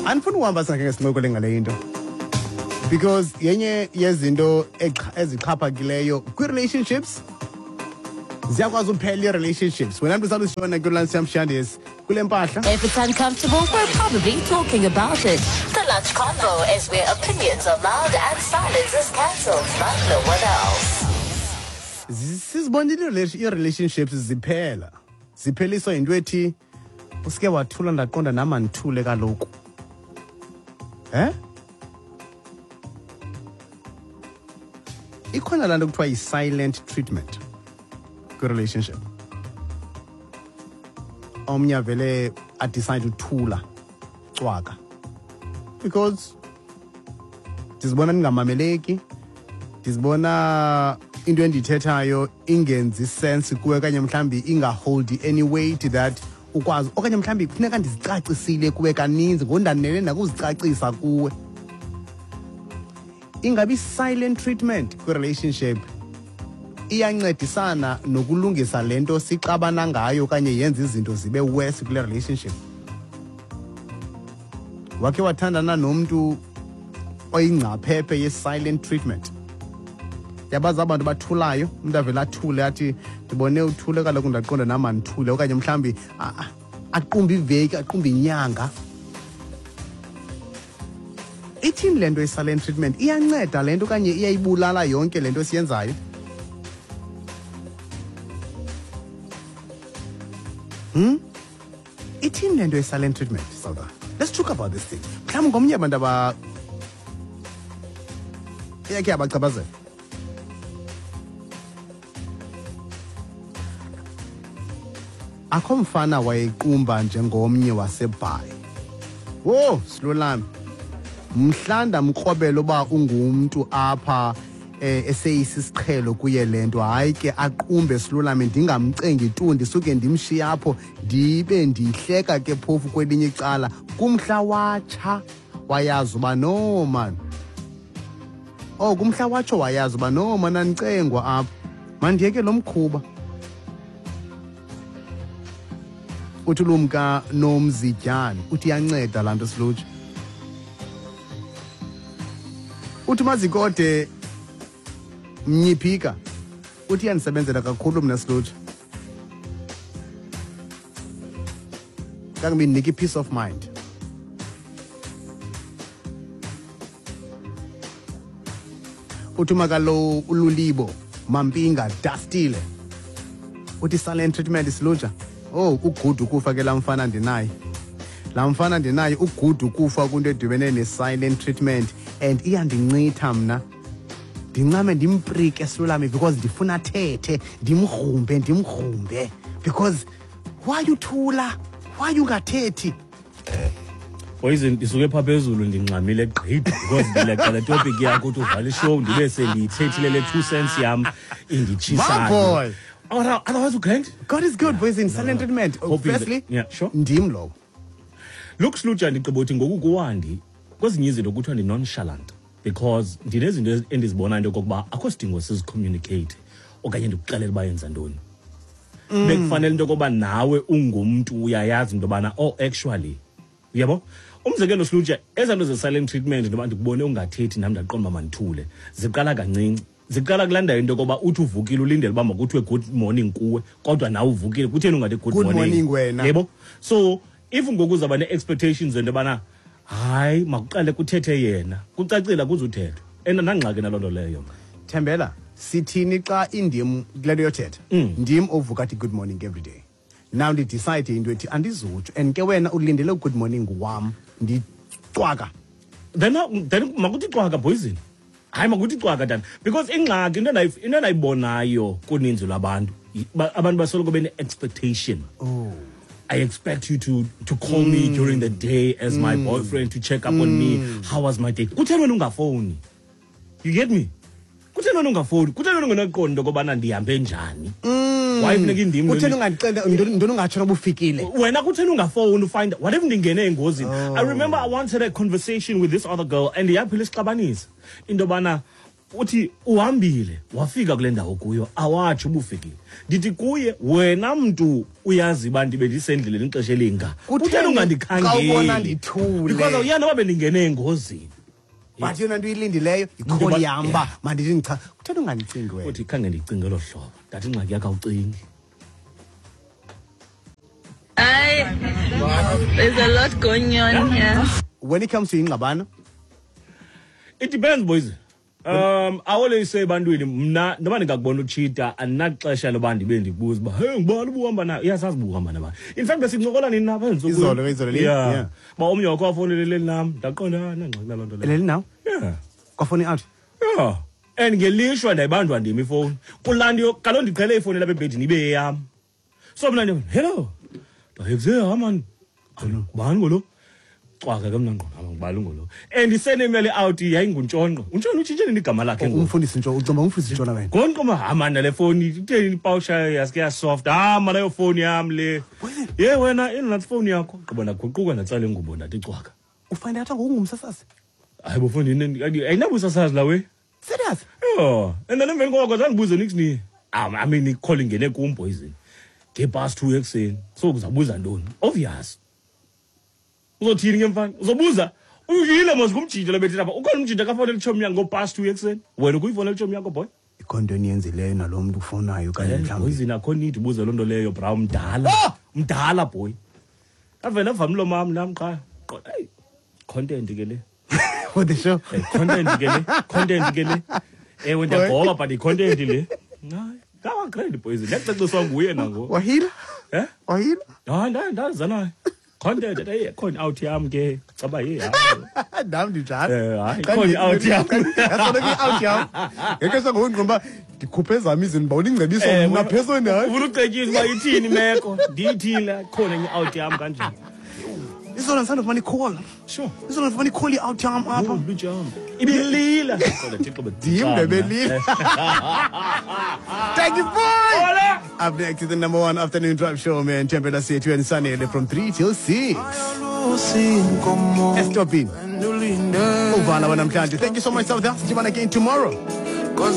Andifuni uhamba singakhe sincokole ngale into, because yenye yezinto ezixhaphakileyo kwi-relationships, ziyakwazi uphela ii-relationships. Wena mntu salusishona kwilansi yamshandis kule mpahla. If it's uncomfortable, we're probably talking about it. The Lunch Convo is where opinions are loud and silence is cancelled, like no one else. Sizibonile ii-relationships ziphela, zipheliswa yinto ethi usike wathula, ndaqonda nam andithule kaloku. Eh, ikhona laa nto kuthiwa yi-silent treatment kwi-relationship. Omnye avele adecide uthula cwaka because ndizibona ndingamameleki, ndizibona into endiyithethayo ingenzi sense kuwe, okanye mhlawumbi ingaholdi any weight that ukwazi, okanye mhlawumbi kufuneka ndizicacisile kuwe kaninzi, ngondanele nakuzicacisa kuwe. Ingabi silent treatment kwi-relationship iyancedisana nokulungisa le nto sixabana ngayo, okanye yenza izinto zibe worse kule relationship? Wakhe wathandana nomntu oyingcaphephe ye-silent treatment? Yabazi abantu bathulayo, umntu avele athule, athi ndibone uthule kaloku, ndaqonda nam andithule, okanye mhlawumbi aqumbe iveki, aqumbe inyanga. Ithini le nto i-silent treatment? Iyanceda le nto okanye iyayibulala yonke le nto esiyenzayo? Ithini le nto ye-silent treatment? Sauda, let's talk about this thing. Mhlawumbi ngomnye abantu aba iyakhe yabachaphazela. Akho mfana wayequmba njengomnye waseBhayi. Wo, silolami, mhla ndamkrobela uba ungumntu apha, eseyisisiqhelo kuye le nto, hayi ke, aqumbe silolami, ndingamcengi tu, ndisuke ndimshiye apho, ndibe ndihleka ke phofu kwelinye icala. Kumhla watsha wayazi uba no man, oh, kumhla watsho wayazi uba no man, andicengwa apha, mandiyeke lo mkhuba. Uthi ulumka nomzityane, uthi iyanceda laa nto silutsha. Uthi mazikode mnyiphika, uthi iyandisebenzela kakhulu mna silutsha, kangoba indinika i-peace of mind. Uthi umakalo ululibo mampinga dastile, uthi silent treatment silutsha, oh, ugudu ukufa ke laa mfana ndinaye, laa mfana ndinaye ugudu ukufa kwinto edibene ne-silent treatment, and iyandincitha mna, ndincame ndimprike silulame because ndifuna athethe, ndimgrumbe, ndimgrumbe because why uthula, why ungathethi? Poison, ndisuke phaa phezulu ndingxamile gqithi because ndileqa le topic yakho uthi uvala ishow ndibe sendiyithethile le 2 cents yam inditshisayo. My boy. Otherwise ugrand. God is good. Poison, silent treatment. Hoping Firstly, yeah, sure. Ndim lowo. Look, Slutsha, ndigqiba uthi ngoku kuwandi kwezinye izinto kuthiwa ndi-nonchalant because ndinezinto endizibonayo into yokokuba akho sidingo sizicommunicate okanye ndikuxelele uba yenza ntoni. Bekufanele into yokoba nawe ungumntu uyayazi into yobana, oh, actually, uyabo, umzekelo Slutsha, ezaa nto ze-silent treatment, ntoba ndikubone ungathethi nam ndaqonda uba mandithule, ziqala kancinci, ziqala kulaa ndawo into yokoba uthi uvukile ulindele uba makuthiwe good morning kuwe, kodwa nawe uvukile, kutheni ungathi good, Good morning wena. Yebo, so if ngoku uzawuba nee-expectations zento yobana hayi, makuqale kuthethe yena, kucacile akuzuthethwa, and andangxaki naloo nto leyo mna. Thembela, sithini xa indim kule nto yothetha? Ndim ovuka athi good morning every day. Now ndidecide into ethi andizutsho, and ke wena ulindele good morning wam, ndicwaka. Then makuthi cwaka, poison. Hayi, makuthi cwaka tata, because ingxaki into endayibonayo kuninzi lwabantu, abantu basoloko bene-expectation. Oh. I expect you to call me during the day as my boyfriend to check up on me. How was my day? Kutheni wena ungafowuni? You get me? Kutheni wena ungafowuni? Kutheni wena ungenaqondi into yokobana ndihambe njani? Why funeka indim? Kutheni ungandixela ntoni, ungatsho noba ufikile? Wena kutheni ungafowuni ufind what if ndingene engozini? I remember I once had a conversation with this other girl and yaphela isixabanisa into yobana Uthi uhambile wafika kule ndawo kuyo, awatsho ubufikile. Ndithi kuye, wena mntu uyazi uba ndibe ndisendleleni ixesha elinga, kutheni ungandikhangeli? Xa ubona ndithule. Because awuyazi noba bendingene engozini. But yona nto uyilindileyo yikholi yam uba mandithi ndicha, kutheni ungandicingi wena? Uthi khange ndicinge elo hlobo. Ndathi ingxaki yakho awucingi. There's a lot going on here. When it comes to ingxabano, it depends, boys. I always say ebantwini, mna noba ndingakubona utshita andinaxesha loba ndibe ndikubuza uba hey, ngubani ubuhamba nayo? Iyasazi uba uhamba nabani. In fact, besincokola nini napha ezintsukwini? Izolo, izolo leli? Yeah. Yeah. Ba omnye wakho wafonela eleli nam, ndaqonda, ah, nangxaki naloo nto leyo. Eleli nawe? Yeah. Kwafoni out? Yeah. And ngelishwa ndayibanjwa ndim ifowuni. Kulaa nto kaloku ndiqhele ifowuni lapha ebhedini ibe yeyam. So mna ndithi, hello. Ndaye, ha man. Ngubani ngolo? Cwaka ke mna ngqo, ngubani ngolo? And isenemele out yayinguNtshonqo. UNtshonqo utshintshe nini igama lakhe ngoku? Umfundisi Ntshonqo, ucimba umfundisi Ntshona wena. Ngonqo ma, ha man, le fowuni itheni ipawusha yaske ya soft. Ha man, leyo fowuni yam le. Ye wena, ingathi fowuni yakho. Gqiba ndaguquka ndatsala ingubo ndathi cwaka. Ufind out ngoku ungumsasazi? Hayi bo fowuni, ayinabusasazi la we. Serious? Yeah. And then emveni koko zandibuze niks ni. I mean, ikholi ingene kum poison. Nge-past 2 ekuseni. So uzabuza ntoni? Obvious. Uzothini ke mfana? Uzobuza? Uyile mos ngumjinjo lebethe lapha. Ukhona umjinjo akafonela itshomi yakho ngo-past 2 ekuseni. Wena ukuyifonela itshomi yakho boy? Ikhona into eniyenzileyo nalo mntu ufonayo okanye mhlawumbi? Poison akho need ubuze loo nto leyo bra, mdala. Mdala boy. Avele avame umlomo wam nam qha. Qho, hey, content ke le. For the show. Hey, content ke le. Content ke le. Ewe, ndiyagoba but i-content le. Hayi, ngaba grand poison. Ndiyacaciswa nguye nangoku. Wahila? Eh? Wahila? Hayi, ndaza naye. Content, hey, khona out yam ke. Caba ye, hayi. Nam ndinjalo. Hayi, Xa khona out yam. Yasona ke out yam. Ngeke sangongqomba ndikhuphe ezam izinto, uba uningcebiso mna phezulu naye. Ufuna ucetyiswa uba ithini imeko? Ndiyithini khona enye out yam kanje. Izolo ndisandofumana i-call. Sure. Izolo ndifumana i-call i-out yam apha. Oh, blue jam. Ibilila. Kodwa Thixo Ndim ndebelila. Thank you, boy. Hola. Up next is the number 1 afternoon drive show, man. Temperature Sethu and Sanele from 3 till 6. Estopin. Uvala wanamhlanje. Thank you so much, South. Sidibana again tomorrow.